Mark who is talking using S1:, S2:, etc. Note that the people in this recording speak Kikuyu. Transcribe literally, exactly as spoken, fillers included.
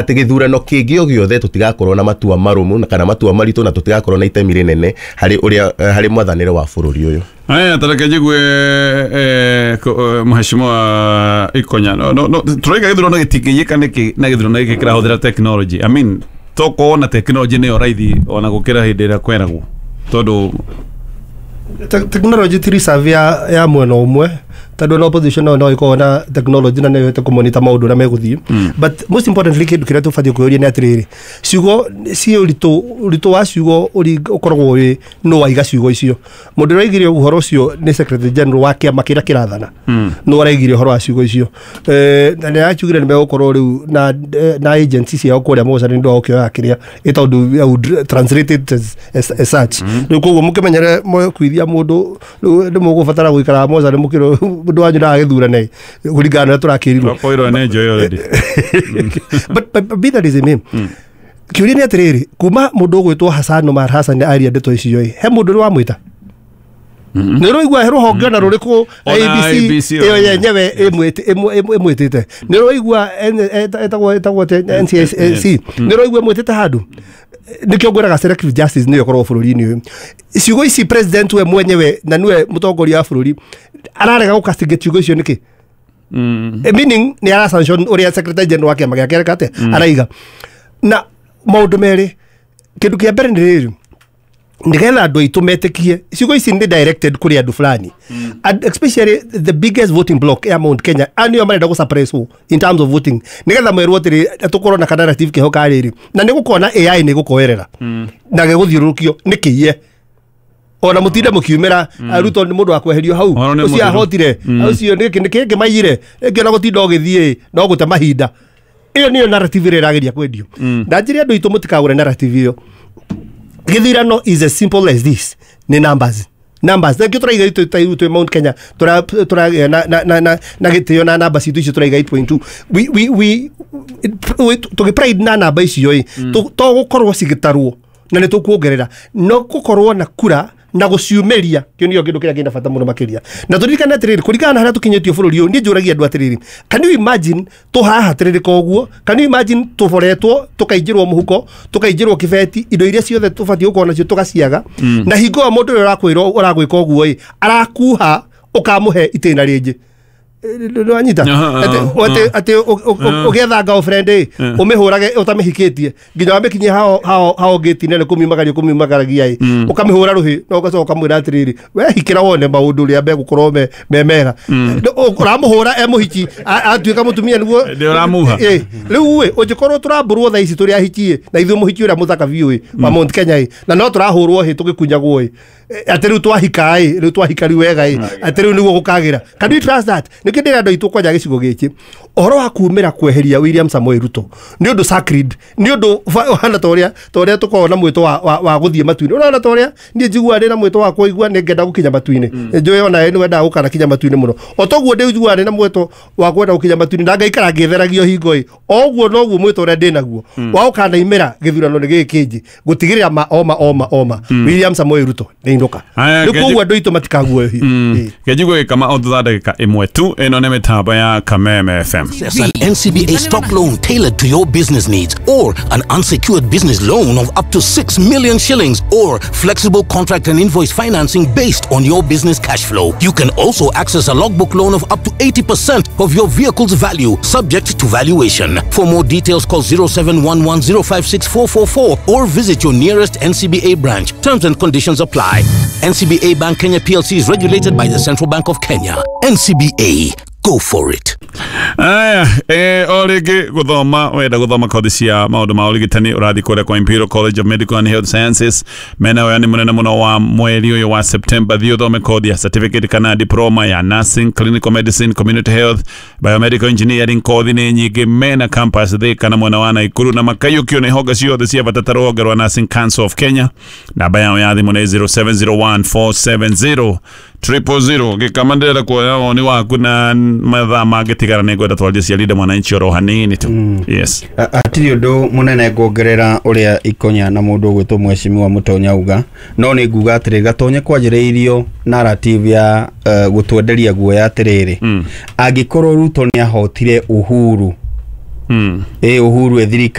S1: Atĩ gĩthurano kĩngĩ o gĩothe tũtigakorwo na matua marũmu na kana matua maritũ, na tũtigakorwo na itemi rĩnene harĩ ũrĩa harĩ mwathanĩre wa bũrũri ũyũ.
S2: Aya, tareke njigue eh, mheshimiwa Ikonya. No, no, no, tũraiga gĩthurano gĩtingĩiyĩka nĩkĩ na gĩthurano gĩkĩ kĩrahũthĩra technology? I mean, tokorwo na technology nĩyo raithi ona gũkĩra hĩndĩ ĩrĩa kweragwo, tondũ
S3: technology ti reserve ya, ya mwena ũmwe, tondũ na opposition no no ĩkorwo na technology na nĩyo ĩhote kũmonita maũndũ ũrĩa megũthiĩ. But most importantly, kĩndũ kĩrĩa tũbatiĩ kwĩyũria nĩ atĩrĩrĩ, ciugo ciĩ ũritũ, ũritũ wa ciugo ũkoragwo wĩ nũ waiga ciugo icio. Mũndũ ũrĩa waigire ũhoro ũcio nĩ secretary general wa kĩama kĩrĩa kĩrathana, nũ araigire ũhoro wa ciugo icio, na nĩ arakiugire nĩ megũkorwo rĩu na na agency ciao kũrĩa mocarĩ nĩ ũndũ wa gũkĩoya kĩrĩa ĩ tondũ I would translate it as, as, as such. Rĩu koguo mũkĩmenyere kwithia mũndũ rĩu nĩ mũgũbatara gũikara mocarĩ mũkĩrwo mũndũ wanyu ndagagĩthurane kũringana na ũrĩa tũrakĩrirwo.
S2: Twakoirwo nĩ njoĩ already.
S3: but, but, but be that as it may, kĩũria nĩ atĩrĩrĩ, kuma mũndũ ũgwĩtwo Hassan Omar Hassan aria ndeto icio ĩ, he mũndũ ũrĩ wamwĩta? Nĩ ũraigua he rũhonge ona rũrĩkũ A B C ĩyo yenyewe ĩmwĩtĩte? Nĩ ũraigua ĩtagwo ĩtagwo atĩa, N C S C? Nĩ ũraigua ĩmwĩtĩte handũ? Nĩkĩo ngwĩraga selective justice nĩyo ĩkoragwo bũrũri-inĩ ũyũ. Ciugo ici president we mwenyewe na nĩwe mũtongoria wa bũrũri ararega gũcastigate ciugo icio nĩkĩ? Meaning nĩ ara sanction ũrĩa secretary general wa kĩama gĩake areka atĩa araiga. Na maũndũ merĩ, kĩndũ kĩa mbere nĩ rĩrĩ, nĩgetha andũ aitũ metĩkie ciugo ici nĩ directed kũrĩ andũ fulani, and especially the biggest voting block ya Mount Kenya, a nĩo marenda gũsuppress in terms of voting, nĩgetha merwo atĩrĩ tũkorwo na ka narrative keho ka rĩrĩ, na nĩ gũkorwo na A I nĩ gũkoerera na gĩgũthiũrũrũkio nĩ kĩiye ona mũtinde mũkiumĩra Ruto nĩ mũndũ wa kweherio hau,
S2: Ũhoro nĩ
S3: ũcio
S2: mũthiru.
S3: ahotire ũcio nĩkĩ nĩkĩ maiyire ĩngĩ, ona gũtinda ũgĩthiĩ no gũte mahinda. Ĩyo nĩyo narrative ĩrĩa ĩrageria kwendio, na njĩre andũ aitũ mũtikagũre narrative ĩyo. Gĩthurano is as simple as this, nĩ numbers, numbers. Thengiũ tũraiga itũ ta itũ Mount Kenya tũra tũra na na na na na gĩtĩo na namba citũ icio tũraiga eight point two. we we we we tũgĩ pride na namba icio ĩ, to gũkorwo cigĩtarwo na nĩ tũkuongerera no gũkorwo na kura na gũciumĩria. Kĩo nĩkĩo kĩndũ kĩrĩa kĩna bata mũno makĩria. Na tũririkane atĩrĩrĩ, kũringana na harĩa tũkinyĩtio bũrũri ũyũ, niĩ njũragia andũ atĩrĩrĩ, can you imagine tũhaha tĩrĩrĩka ũguo? Can you imagine tũboretwo, tũkaingĩrwo mũhuko, tũkaingĩrwo kĩbeti, indo iria ciothe tũbatiĩ gũkorwo nacio tũgaciaga, na hingo ĩyo mũndũ ũrĩa ũrakwĩrwo ũragwĩka ũguo ĩ arakuha ũkamũhe itĩna rĩngĩ? Nĩwanyita?
S2: Aha,
S3: atĩ
S2: aha.
S3: atĩ atĩ ũgĩetha girlfriend ĩ, ũmĩhũrage ũtamĩhikĩtie nginya wamĩkinyia hao hao hao ngĩti-inĩ, nĩ kũmiumagaria kũmiumagaragia ĩ, ũkamĩhũra rũhĩ na ũgacoka ũkamwĩra atĩrĩrĩ, we hikĩra wone maũndũ ũrĩa megũkorwo me me mega. Ũramũhũra e mũhiki, a- atuĩka mũtumia nĩguo
S2: Nĩ ũramuha.
S3: Ĩ, rĩu ĩ ũngĩkorwo tũrambũrwo thaa ici tũrĩ ahiki ĩ, na ithuĩ mũhiki ũrĩa mũthaka biũ ĩ wa Mount Kenya ĩ, na no tũrahũrwo hĩ tũgĩkunyagwo ĩ, atĩ rĩu twahika ĩ, rĩu twahika rĩu wega ĩ, atĩ rĩu nĩguo gũkagĩra. Can you trust that? Nĩkĩo ndĩra andũ aitũ kwanja gĩcigo gĩkĩ, ũhoro wa kumĩra kweheria William Samoei Ruto nĩ ũndũ sacred, nĩ ũndũ ũhana ta ũrĩa ta ũrĩa tũkoragwo na mwĩto wa, wa, wa gũthiĩ matu-inĩ. Ũrona ta ũrĩa niĩ njiguaga ndĩ na mwĩto wa kũigua nĩ ngenda gũkinya matu-inĩ, njũĩ ona nĩ wendaga gũkanakinya matu-inĩ mũno. O toguo ndĩiguaga ndĩ na mwĩto wa kwenda gũkinya matu-inĩ na ngaikara ngĩtheragio hingo ĩ, o ũguo noguo mwĩto ũrĩa ndĩ naguo wa gũkanaimĩra gĩthurano nĩ gĩkĩ kĩnji gũtigĩrĩra ma oma oma oma William Samoei Ruto nĩ inũka.
S2: Aya,
S3: Rĩu
S2: ngeji-
S3: koguo andũ aitũ matikaguoyohio. Ĩ.
S2: Kenjigua gĩkama o thutha ndagĩka ĩmwe tu. Ĩno nĩ mĩtambo ya Kameme F M.
S4: Access an N C B A stock loan tailored to your business needs, or an unsecured business loan of up to six million shillings, or flexible contract and invoice financing based on your business cash flow. You can also access a logbook loan of up to eighty percent of your vehicle's value, subject to valuation. For more details, call zero seven one one zero five six four four four or visit your nearest N C B A branch. Terms and conditions apply. N C B A Bank Kenya P L C is regulated by the Central Bank of Kenya. N C B A, go for it.
S2: Aya, eh, o rĩngĩ gũthoma, wenda gũthoma kothi cia maũndũ ma ũrigitani, ũrathiĩ kũrĩa kwa Imperial College of Medical and Health Sciences. Mena wayani mũnene mũno wa mweri ũyũ wa September. Thiĩ ũthome kothi ya certificate kana diploma ya nursing, clinical medicine, community health, biomedical engineering. Kothi nĩ nyingĩ. Mena campus Thika na mwena wa Naikuru, na makaiyũkio nĩ honge ciothe cia bata ta rũhonge rwa Nursing Council of Kenya. Namba yao ya thimũ nĩ zero seven zero one four seven zero triple zero. Gĩkama, ndĩrenda kuoya woni waku na mathaa mangĩtigara nĩ ngwenda twarie cia Linda Mwananchi oro hanini tu. Yes.
S5: Hatirĩ ũndũ mũnene nguongerera ũrĩa Ikonya na mũndũ ũgwĩtwo mheshimiwa Mũtonya auga, no nĩ nguga atĩrĩ, Gatonye kwanjĩrĩirio narrative ya uh, gũtwenderia guoya atĩrĩrĩ, mm. angĩkorwo Ruto nĩ ahotire Uhuru Ĩ Uhuru e thirikari.